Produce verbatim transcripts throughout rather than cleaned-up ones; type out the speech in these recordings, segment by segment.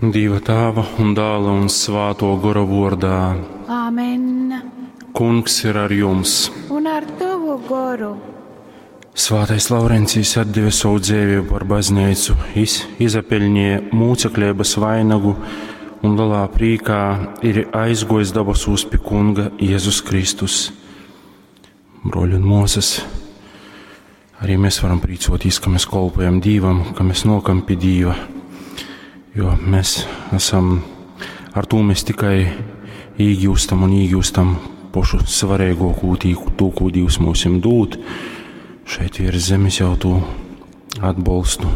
Dīva Tāva un Dāla un Svātō Gora vordā. Āmen. Kungs ir ar jums. Un ar tavu goru. Svātais Laurencijs atdeve savu dzīvību par baznīcu, iz, izapeļņēja mūcekļības vainagu un lielā prīkā ir aizgojis dabasūs pi Kunga Jēzus Kristus. Broļi un mūsas, arī mēs varam prīcoties, ka mēs kolpojam Dīvam, ka mēs nokam pie Dīva, jo mēs esam, ar to mēs tikai īgūstam un īgūstam pošu svarīgāko tū, ko Dievs mums dod. Šeit virs zemes jau to atbalstu,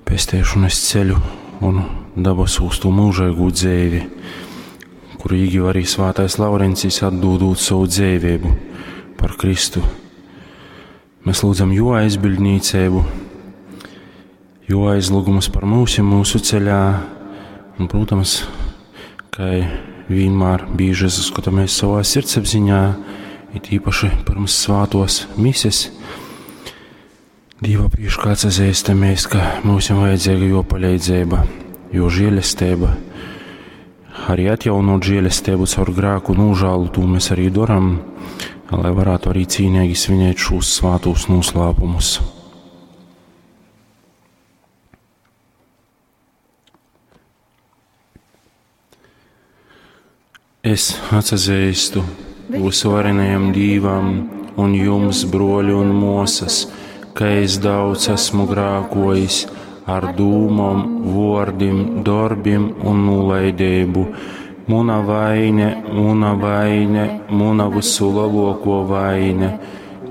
pestēšanas ceļu un dabasūs to mūžīgo dzīvi, kuru īgiva arī Svātais Laurencijs atdodot savu dzīvību par Kristu. Mēs lūdzam jo aizbildnīcību, jo aizlūgumus par mūsu, mūsu ceļā, un, protams, kā vienmēr bieži saskatāmies savā sirdsapziņā, it īpaši pirms svātos mises, Dīva priekšā atzīstamies, ka mums ir vajadzīga jo palīdzība, jo žēlestība, arī atjaunot žēlestību caur grēku nožēlu, to mēs arī darām, lai varētu arī cīnīgi svinēt šos svātos noslēpumus. Es atzīstu visvarenajam Dīvam un jums, broļi un mosas, ka es daudz esmu grākojis ar dūmom, vordim, darbim un nolaidību. Muna vaine, muna vaine, muna visu lielāko vaine.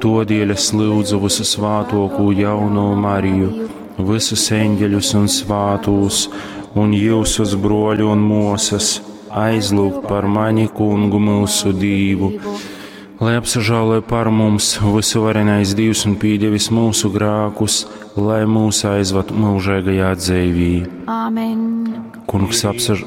Todēļ es lūdzu visu svātoko jauno Mariju, visus eņģeļus un svātus, un jūsus broļu un mosas, aizlūgt par mani kungu mūsu Dīvu. Lai apsažāloja par mums visuvarenais Dievs un pīdevis mūsu grākus, lai mūs aizvad mūžīgajā dzīvī. Āmen. Kungs apsaž...